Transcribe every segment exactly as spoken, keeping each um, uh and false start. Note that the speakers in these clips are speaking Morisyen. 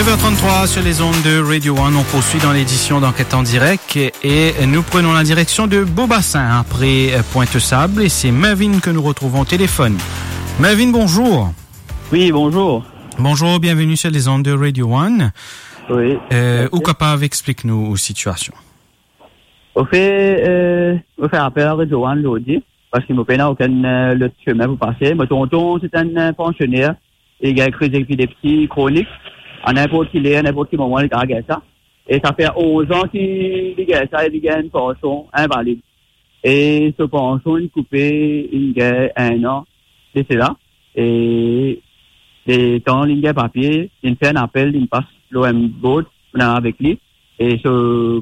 Neuf heures trente-trois sur les ondes de Radio One, on poursuit dans l'édition d'Enquête en direct et nous prenons la direction de Beau-Bassin après, euh, Pointe-aux-Sables et c'est Mervyn que nous retrouvons au téléphone. Mervyn, bonjour. Oui, bonjour. Bonjour, bienvenue sur les ondes de Radio One. Oui. Euh, ou kapav explik nou ou sitiasion? Ofer, euh, mo fer apel a Radio One zordi, parski mo pena okenn, euh, lot sime pou pase. Mo tonton, se enn, euh, pansioner, li gagn kriz epilepsi kronik. A ninport ki ler, ninport ki moman, li kapav gagn sa. E sa fer onz an ki li gagn sa, e li gagn enn pansion invalid. E so pansion inn koupe, inn gagn enn an de sela. E letan linn gagn papie, linn fer enn apel, linn pas lor enn board, nou avek li. E so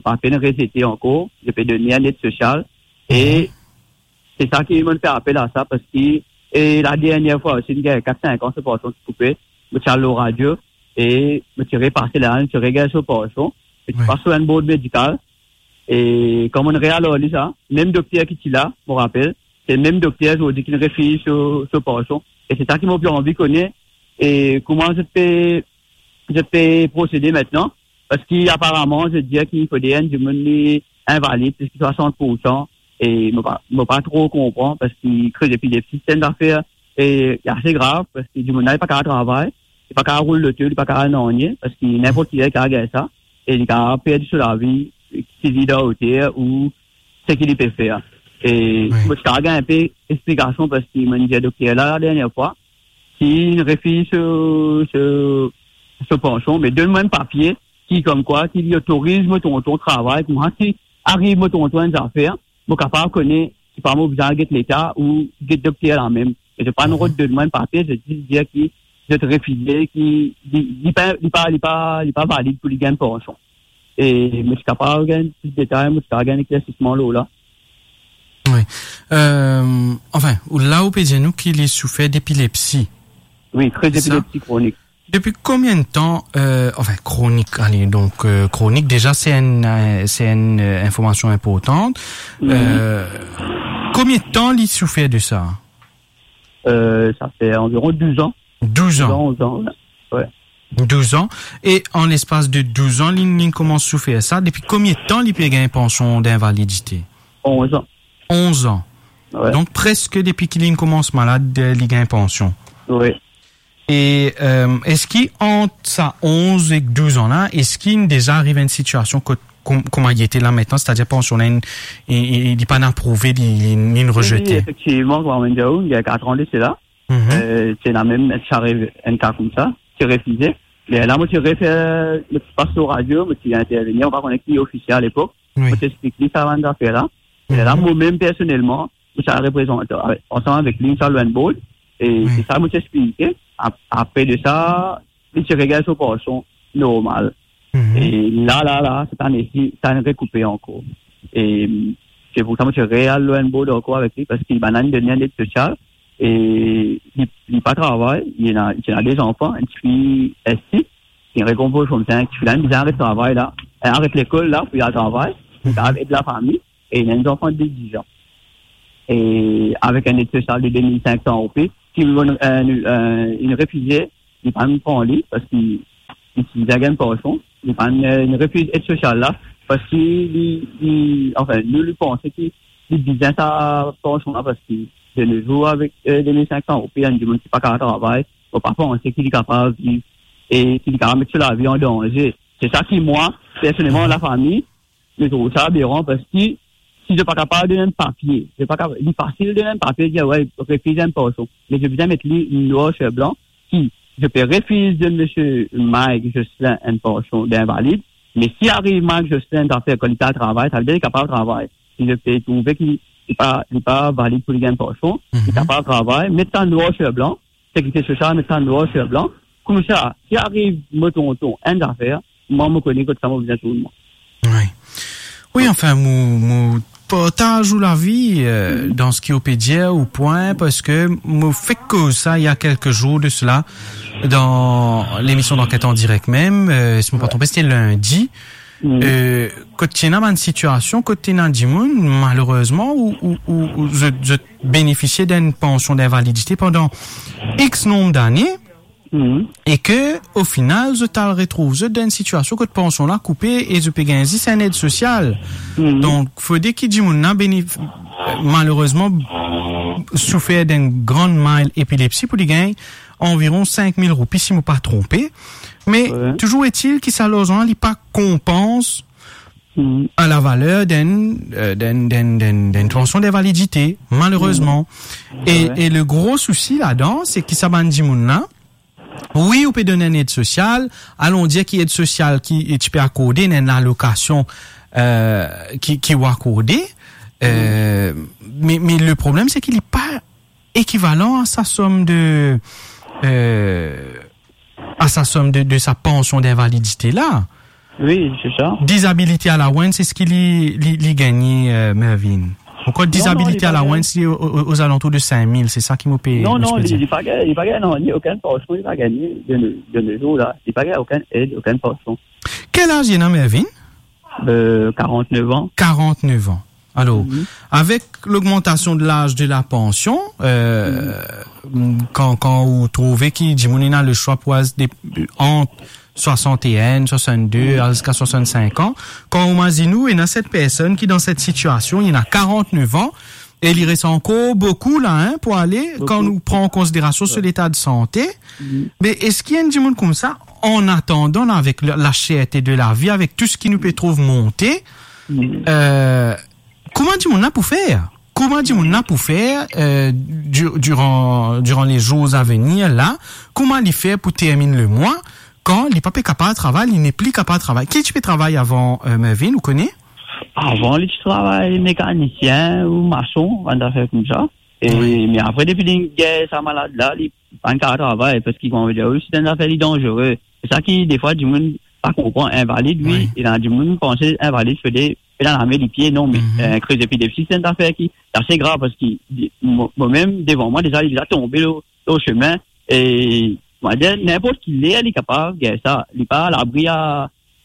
papie inn rezete ankor, zot pe donn li enn ed sosial. E se sa ki mo'nn fer apel a sa, parski, e ladernie fwa osi, inn gagn kat, sink an, so pansion ti koupe, mo ti al lor radio, e mo ti repase la, mo ti regagn so pansion, mo ti pas lor enn board medikal, e kan mo'nn real ar li sa, mem dokter ki ti la, mo rapel, se mem dokter zordi ki'nn refiz so, so pansion. E se sa ki mo pe anvi kone, e kouma zot pe, zot pe prosede aster, parski aparaman, zot dir ki fode enn dimoun li invalid, plis ki swasant poursan, e mo pa, mo pa tro konpran, parski kriz epilepsi, se enn zafer, e, ase grav, parski dimoun la, li pa kapav travay, li pa kapav roul loto, li pa kapav nanye, parski ninport ki ler li kapav gagn sa, e li kapav perdi so lavi, swivi dan oter ou seki li pe fer. E mo ti kapav gagn enpe explikasion, parski mo'nn dir dokter la, ladernie fwa, ki inn refiz so, so, so pansion, me donn mwa enn papie ki, komkwa, ki li otoriz mo tonton travay, kouma si ariv mo tonton enn zafer, mo kapav kone, sipa mo bizin al get leta ou get dokter la mem. E zot pa'nn rod donn mwa enn papie, zot zis dir ki zot refize, ki li, li pa, li pa, li pa, li pa valid pou li gagn pansion. E mo ti kapav gagn plis detay, mo ti kapav gagn eklersisman lor la. Wi. Euh, anfin, ou, la ou pe dir nou ki li soufer depilepsi. Wi, kriz epilepsi kronik. Depi konbien tan, euh, anfin, kronik, ale, donk, euh, kronik, deza, se enn, euh, se enn, euh, informasion inportan. Euh, konbien tan li soufer de sa? Euh, sa fer anviron douz an. Douz an. Douz an, onz an, wi. Wi. Douz an. E an lespas de douz an, li, li koumans soufer sa. Depi konbien tan li pe gagn pansion d'invalidite? Onz an. Onz an. Wi. Donk, preske depi ki li koumans malad, li gagn pansion. Wi. E, euh, eski ant sa onz ek douz an la, eski inn deza ariv enn sitiasion kot, kom-, kouma li ete la aster, setadir pansion la inn, e, e, li pa'nn aprouve, li, li, li inn rezete? Wi, efektivman, kouma mo'nn dir ou, inn gagn kat an de sela. Mhm. Euh, ti ena mem sa arive enn ka koumsa, ti refize. Me la, mo ti refer, mo ti pas lor radio, mo ti intervenir, mo pa kone ki ofisie alepok. Wi. Mo ti explik li sa bann zafer la. E la, mhm, mo mem personelman, mo ti al reprezant, ansam avek li, mo ti al lor enn board, e, wi, se sa mo ti explike. Ap-, apre de sa, li ti regagn so pansion normal. Mhm. E la, la, la, set ane si, sa inn rekoupe ankor. E se pou sa mo ti real lor enn board ankor avek li, parski bann la inn donn li enn ed sosial, e li, li pa travay, li ena, li ena de zanfan, enn tifi, enn tifi, ki rekonpor koumsa, enn tifi la, li bizin aret travay la, e, aret lekol la, pou li al travay, pou li kapav ed lafami, e li ena enn zanfan de diz an. E avek enn ed sosial de de mil sink san roupi, ki, euh, euh, inn refize, li pa'nn pran li, parski li ti bizin gagn pansion, li pa'nn, euh, inn refiz ed sosial la, parski li, li, anfin, nou, li panse ki li bizin sa pansion la, parski de no zour avek, euh, de mil sink san roupi, enn dimoun ki pa kapav travay, mo pa panse ki li kapav viv e ki li kapav met so lavi an danze. Se sa ki mwa, personelman, lafami, mo trouv sa aberan, parski si zot pa kapav donn enn papie, zot pa kapav, li fasil donn enn papie, dir, wi, refiz enn pansion. Me zot bizin met li nwar sir blan, ki zot pe refiz donn misie Mike Jocelyn enn pansion d'invalid, me si ariv Mike Jocelyn zafer, kan li pe al travay, savedir li kapav travay. Si zot pe trouve ki li pa, li pa valid pou li gagn pansion, li kapav travay, met sa nwar sir blan, sekirite sosial met sa nwar sir blan. Koumsa, si ariv mo tonton enn zafer, mwa, mo kone kot sa mo bizin tourn mwa. Wi. Wi, anfin, mo, mo partaz ou lavi, euh, dan seki ou pe dir, ou pwin, parski mo fek koz sa, il y a quelques jours de cela, dan lemision d'Enquête en direct mem, euh, si mo pa tronpe, sete lindi. Euh, kot ti ena bann sitiasion, kot ti ena dimoun, malerezman, ou, ou, ou, ou zot, zot benefisie d'enn pansion d'invalidite pandan X nonb dane, Mhm. E ke, o final, zot al retrouv zot dan enn sitiasion kot pansion la koupe e zot pe gagn zis enn ed sosial. Mhm. Donk, fode ki dimoun la benef-, malerezman, soufer d'enn gran mild epilepsi pou li gagn anviron sink mil roupi, si mo pa tronpe. Me, wi, touzour etil ki sa larzan la, li pa konpans, mhm, a lavaler d'enn, euh, d'enn, d'enn, d'enn, d'enn pansion d'invalidite, malerezman. Mhm. E, wi, e le gro sousi ladan, se ki sa bann dimoun la, wi, ou pe donn enn ed sosial, alon dir ki ed sosial ki, ti pe akorde, enn alokasion, euh, ki, ki ou akorde, euh, me, me le problem, se ki li pa ekivalan a sa som de, euh, a sa som de, de sa pansion d'invalidite la. Wi, se sa. Disability allowance, eski li, li, li gagne, euh, Mervyn? Ankor, non, non, disability allowance, li o, o, o, ozalantour de sink mil, se sa ki mo pe, non, mo non, pe li, dir. Li pa gagne, li pa gagne, non, li okenn pansion, li pa gagne de, de, de zour la. Li pa gagne okenn ed, okenn pansion. Kel laz li ena, Mervyn? Euh, quarante-neuf ans. Quarante-neuf ans. Alor, mhm, avek logmantasion de laz de la pansion, euh, mhm, kan, kan ou trouve ki dimoun ena le swa pou al de, ant swasant-e-enn, swasant-de, mhm, al ziska swasant-sink an, kan ou imazinn ou ena set personn ki dan set sitiasion, li ena quarante-neuf ans, e li res ankor boukou la, hein, pou ale, boukou, kan nou pran an konsiderasion so leta de sante. Mhm. Me eski enn dimoun koumsa, an atandan la, avek la, la cherte de lavi, avek tou seki nou pe trouv monte, mhm, euh, kouma dimoun la pou fer? Kouma dimoun la pou fer, euh, du-, diran, diran le zour a venir la? Kouma li fer pou terminn le mwa, kan li pa pe kapav travay, li nepli kapav travay? Ki ti pe travay avan, euh, Mervyn, ou kone? Avan, li ti travay mekanisien ou mason, bann zafer koumsa. E, wi, me apre, depi li gagn sa malad la, li pa kapav travay, parski, kouma dir, wi, se enn zafer li danzere. Se sa ki, defwa, dimoun pa konpran, invalid, wi, wi, e la, dimoun panse invalid, fode, fode lame, lipie, non, me, mhm, euh, kriz epilepsi, se enn zafer ki, se ase grav, parski, di-, mo-, momem, devan mwa, deza, li deza tonbe lor, lor sime, e, mo dir, ninport ki ler, li kapav gagn sa, li pa labri a,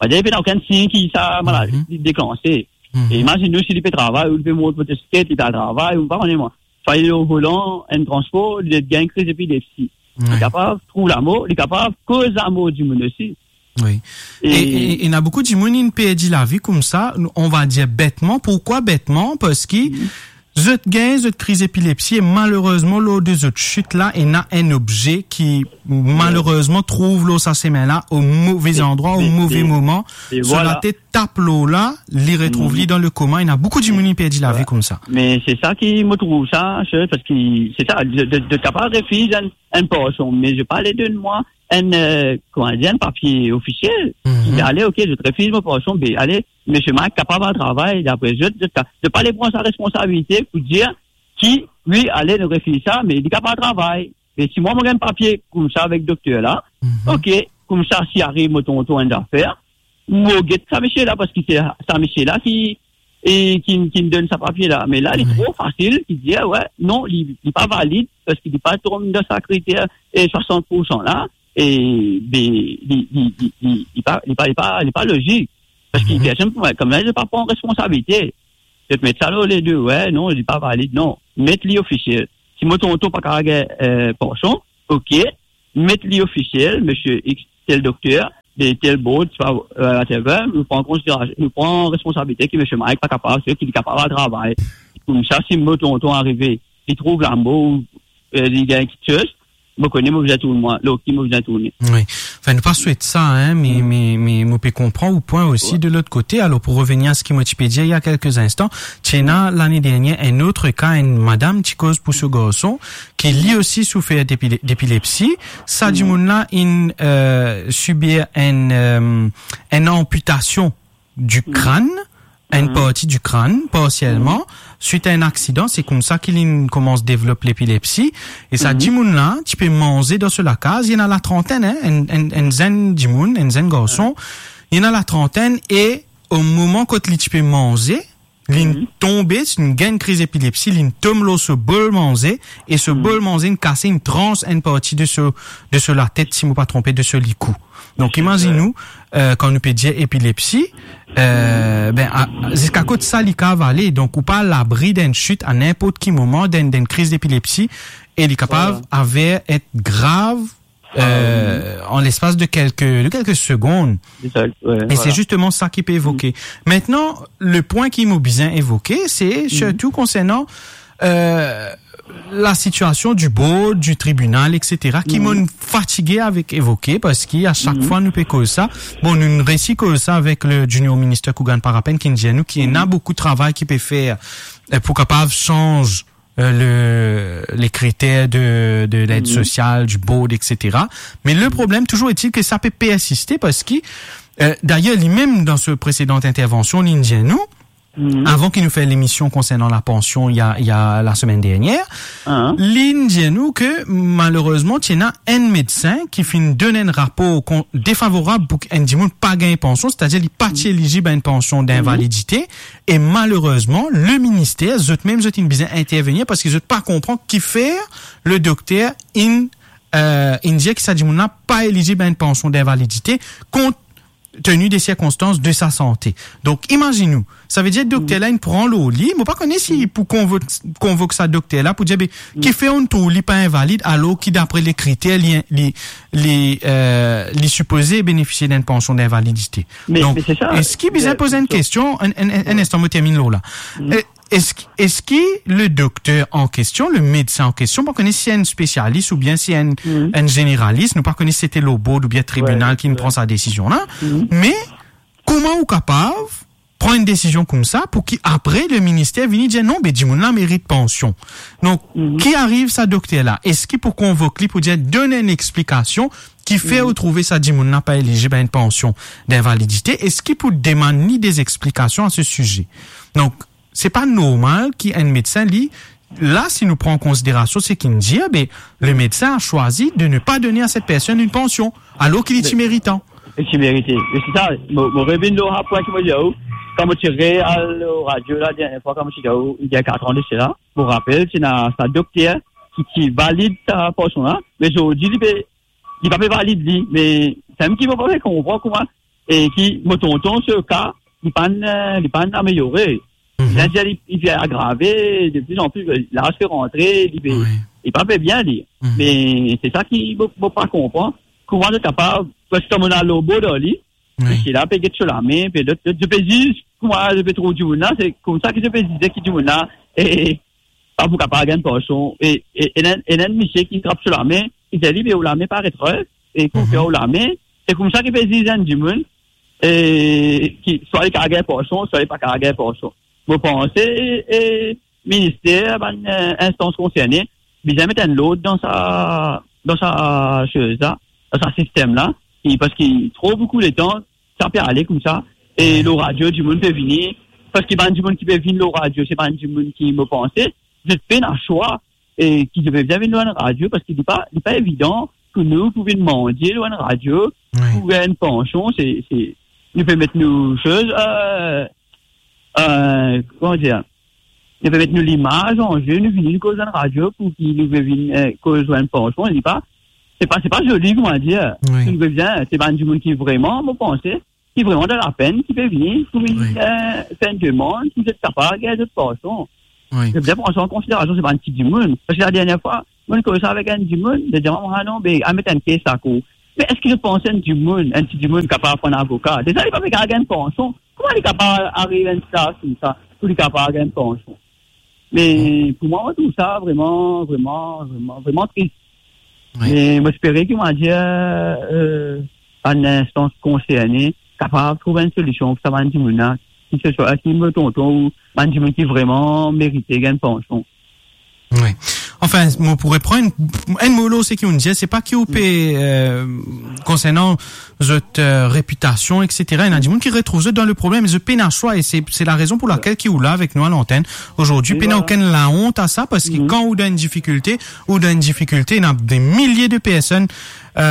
mo dir, pena okenn sign ki sa maladi, mhm, li deklanse. Mhm. E imazinn ou si li pe travay, ou li pe mont motosiklet, li pe al travay, ou pa kone mwa. Swa li lor volan enn transpor, li gagn kriz epilepsi. Wi. Li kapav trouv lamor, li kapav koz lamor dimoun osi. Wi. E, e, e, ena boukou dimoun inn perdi lavi koumsa, on va dir betman. Pourkwa betman? Parski, mhm, zot gagn zot kriz epilepsi e malerezman, lor de zot sit la, ena enn obze ki, wi, malerezman, trouv lor sa sime la, o move, e, andrwa, o, e, move, e, moman, e so vwala. Latet tap lor la, li retrouv, mhm, li dan le koma. Ena boukou dimoun inn perdi lavi, wi, koumsa. Me se sa ki mo trouv sa, se, parski se sa, de, de, de kapav refiz enn, enn pansion, me zot pa le donn mwa enn, euh, kouma dir, enn papie ofisiel. Mhm. Ale, ok, zot refiz mo pansion, be, ale, misie Mike kapav al travay, dapre zot, zot ka-, zot pa le pran sa responsabilite pou dir ki, wi, ale, nou refiz sa, me li kapav al travay. Me si mwa, mo gagn papie koumsa avek dokter la, mhm, ok, koumsa, si ariv mo tonton enn zafer, mo get sa misie la, parski se sa misie la ki, e, ki, ki donn sa papie la. Me la, li, wi, tro fasil, ki dir, we, non, li, li pa valid, parski li pa tonm dan sa kriter, e, swasant poursan la, e, be, li, li, li, li, li pa, li pa, li pa, li pa lozik. Parski, mhm, personn pou mwa, koumsa, li pa pran responsabilite. Zot met sa lor le do, we, non, li pa valid, non. Met li ofisiel. Si mo tonton pa kapav gagn, euh, pansion, ok, met li ofisiel, misie X, tel dokter, de tel board, swa, euh, whatever, nou pran konsiderasion, nou pran responsabilite ki misie Mike pa kapav, se ki li kapav al travay. Koumsa, si mo tonton arive, li trouv lamor, euh, li gagn kiksoz, mo kone mo bizin tourn mwa, lor ki mo bizin tourne. Wi. Anfin, nou pa swet sa, hein, me, mm, me, me mo pe konpran ou pwin osi, wi, de lot kote. Alor, pou revenir a seki mo ti pe dir il y a quelques instants, ti ena lane dernier enn lot ka, enn madam ti koz pou so garson, ki li osi soufer d'epile-, d'epilepsi. Sa, mm, dimoun la inn, euh, sibir enn, euh, enn anpitasion di, mm, krann, enn, mm, parti di krann, parsielman, mm, swit a enn aksidan. Se koumsa ki li koumans devlop lepilepsi. E sa, mm, dimoun la ti pe manze dan so lakaz, li ena latrantinn, hein, enn, enn, enn zenn dimoun, enn zenn garson, mm, li ena latrantinn, e o moman kot li ti pe manze, li, mhm, tonbe, li gagn kriz epilepsi, li tom lor so bol manze, e so, mhm, bol manze inn kase enn trans, enn parti de so, de so latet, si mo pa tronpe, de so likou. Donk, imazinn ou, euh, kan nou pe dir epilepsi, euh, ben, a, ziska kot sa li kapav ale. Donk, ou pa labri d'enn sit a ninport ki moman, d'enn, d'enn kriz d'epilepsi, e li kapav, vwala, aver et grav, euh, an lespas de kelke, de kelke segonn. E se zisteman sa ki pe evoke. Mintnan, le pwin ki mo bizin evoke, se sirtou konsernan, euh, lasitiasion di board, di tribinal, et cetera, ki mo'nn fatige avek evoke, parski a sak fwa nou pe koz sa, bon, nou'nn resi koz sa avek le junior minister Coogan Parapen, ki'nn dir nou ki ena boukou travay ki pe fer, euh, pou kapav sanz, euh, le, le kriter de, de led sosial, di board, et cetera. Me le problem, touzour etil ke sa pe persiste, parski, euh, dayer, limem dan so presedan intervansion, li'nn dir nou, avan ki nou fer lemision konsernan lapansion, ena, ena lasemenn dernier, li'nn dir nou ke, malerezman, ti ena enn medsin ki finn donn enn rapor kon-, defavorab pou enn dimoun pa gagn pansion, setadir li pa ti elizib a enn pansion dinvalidite, e malerezman, le minister, zot mem, zot inn bizin intervenir, parski zot pa konpran kifer le dokter inn, euh, inn dir ki sa dimoun la pa elizib a enn pansion dinvalidite, kont tenu de sirkonstans de sa sante. Donk, imazinn ou, savedir dokter la inn pran lor li, mo pa kone si pou konvo-, konvok sa dokter la pou dir, be, kifer ou'nn trouv li pa invalid, alor ki dapre le kriter, li, li, li, euh, li sipoze benefisie d'enn pansion d'invalidite. Me, Donk, me se sa. Eski bizin poz enn kestion, enn, enn, enn, enn instan, mo terminn lor la. E, eski, eski le dokter an kestion, le medsin an kestion, pa kone si enn spesialis oubien si enn, enn zeneralis, nou pa kone si se te lor board oubien tribinal ki'nn pran sa desizion la, me kouma ou kapav pran enn desizion koumsa pou ki apre le minister vini dir, "Non, be, dimoun la merit pansion"? Donk, ki ariv sa dokter la? Eski pou konvok li pou dir, donn enn explikasion kifer ou trouve sa dimoun la pa elizib a enn pansion d'invalidite? Eski pou demann li de explikasion a se size? Donk, se pa normal ki enn medsin, li, la, si nou pran an konsiderasion seki inn dir, be, le medsin a choisi de ne pas donner à cette personne une pension, alor ki li ti meritan. Li ti merite. E se sa, mo, mo revinn lor sa pwin ki mo dir ou, kan mo ti re al radio la, dernie fwa, kan mo ti dir ou, il y a quatre ans de cela, mo rapel, ti ena sa dokter ki, ki valid sa pansion la, me zordi, li pe, li pa pe valid li, me samem ki mo pa pe konpran kouma, e ki mo tonton, so ka, li pa'nn, euh, li pa'nn ameliore. Li dir li, li pe agrave, de plus en plus, euh, laz pe rantre, li pe, li pa pe bien, li. Me se sa ki mo, mo pa konpran. Kouma zot kapav, parski kan mo al lor board ar li, e sela pe get so lame, pe lot, lot, zot pe ziz, kouma zot pe trouv dimoun la, se koumsa ki zot pe zize ki dimoun la, e, pa pou kapav gagn pansion. E, e, ena enn, ena enn misie ki trap so lame, li dir li, "Be, ou lame pa ret res, e ki ou fer ou lame?" Se koumsa ki pe ziz enn dimoun, e, ki, swa li kapav gagn pansion, swa li pa kapav gagn pansion. Mo panse, e, minister, bann, e, instans konserne, bizin met enn lord dan sa, dan sa soz la, dan sa sistem la, e, parski tro boukou letan, sa pe ale koumsa, e lor radio, dimoun pe vini, parski bann dimoun ki pe vinn lor radio, se bann dimoun ki, mo panse, zot pena swa, e ki zot pe bizin vinn lor enn radio, parski li pa, li pa evidan pou nou pou vinn mandie lor enn radio, pou gagn pansion, se, se, nou pe met nou soz, e, e, kouma dir, nou pe met nou limaz an ze, nou vini, nou koz dan radio pou ki nou pe vinn, e, koz lor enn pansion, li pa, se pa, se pa zoli, kouma dir. Nou pe bizin, se bann dimoun ki vreman, mo panse, ki vreman dan lapenn, ki pe vini pou vinn, e, fer enn demann, ki zot kapav gagn zot pansion. Zot bizin pran sa an konsiderasion, se pa enn ti dimoun. Parski ladernie fwa, mo'nn koz sa avek enn dimoun, li dir mwa, "Ah non, be, al met enn kes lakour." Me eski zot panse enn dimoun, enn ti dimoun kapav pran avoka? Deza, li pa pe kapav gagn pansion. Kouma li kapav ariv enn sitwasion koumsa, pou li kapav gagn pansion? Me pou mwa, mo trouv sa vreman, vreman, vreman, vreman tris. Me mo espere ki, mo dir, e, bann instans konserne kapav trouv enn solision pou sa bann dimoun la, ki se swa, ki mo tonton ou bann dimoun ki vreman merite gagn pansion. Wi. Anfin, mo pou repran enn, enn mo lor seki ou'nn dir, se pa ki ou pe, e, konsernan zot, e, repitasion, et cetera. Ena dimoun ki retrouv zot dan le problem, zot pena swa, e se, se larezon pou lakel ki ou la avek nou a lantenn ozordi. Pena okenn laont a sa, parski kan ou dan enn difikilte, ou dan enn difikilte, ena de milie de personn, e,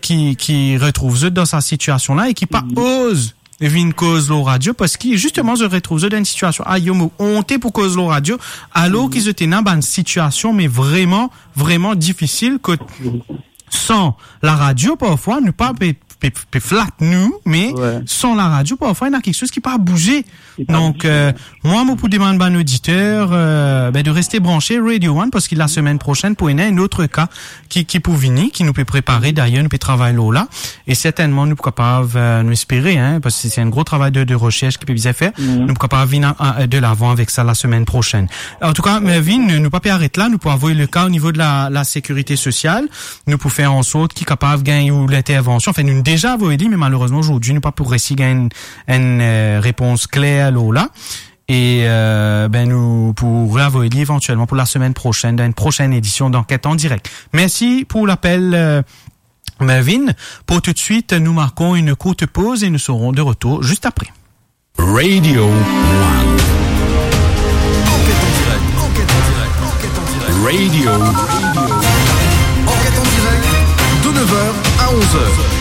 ki, ki retrouv zot dan sa sitiasion la e ki pa oz vinn koz lor radio, parski zisteman zot retrouv zot dan enn sitiasion, ayo, mo onte pou koz lor radio, alor ki zot ena bann sitiasion, me vreman, vreman difisil, kot san laradio, parfwa, nou pa pe pe, pe flat nou, me san laradio, parfwa, ena kiksoz ki pa bouze. Donk, euh, mwa, mo pou demann bann oditer, euh, ben, de reste branche Radio One, parski lasemenn prosenn pou ena enn lot ka ki, ki pou vini, ki nou pe prepare, dayer, nou pe travay lor la. E sertennman, nou pou kapav, euh, nou espere, hein, parski se enn gro travay de, de recherche ki pe bizin fer. Nou pou kapav vinn a, a, de lavan avek sa lasemenn prosenn. Antouka, Mervin, nou pa pe aret la, nou pou avoy le ka o nivo de la, la sekirite sosial, nou pou fer an sort ki kapav gagn ou lintervansion. Anfin, nou deja avoy li, me malerezman, zordi, nou pa pou resi gagn enn, euh, repons kler lor la. E, euh, ben, nou pou reavoy li evantielman pou lasemenn prosenn, dan enn prosenn edision d'Enquête en direct. Mersi pou lapel, euh, Mervin. Pour tout de suite, nous marquons une courte pause et nous serons de retour juste après. Radio One. Enquête en direct, enquête en direct, enquête en direct. Radio. Enquête en direct, de neuf heures à onze heures.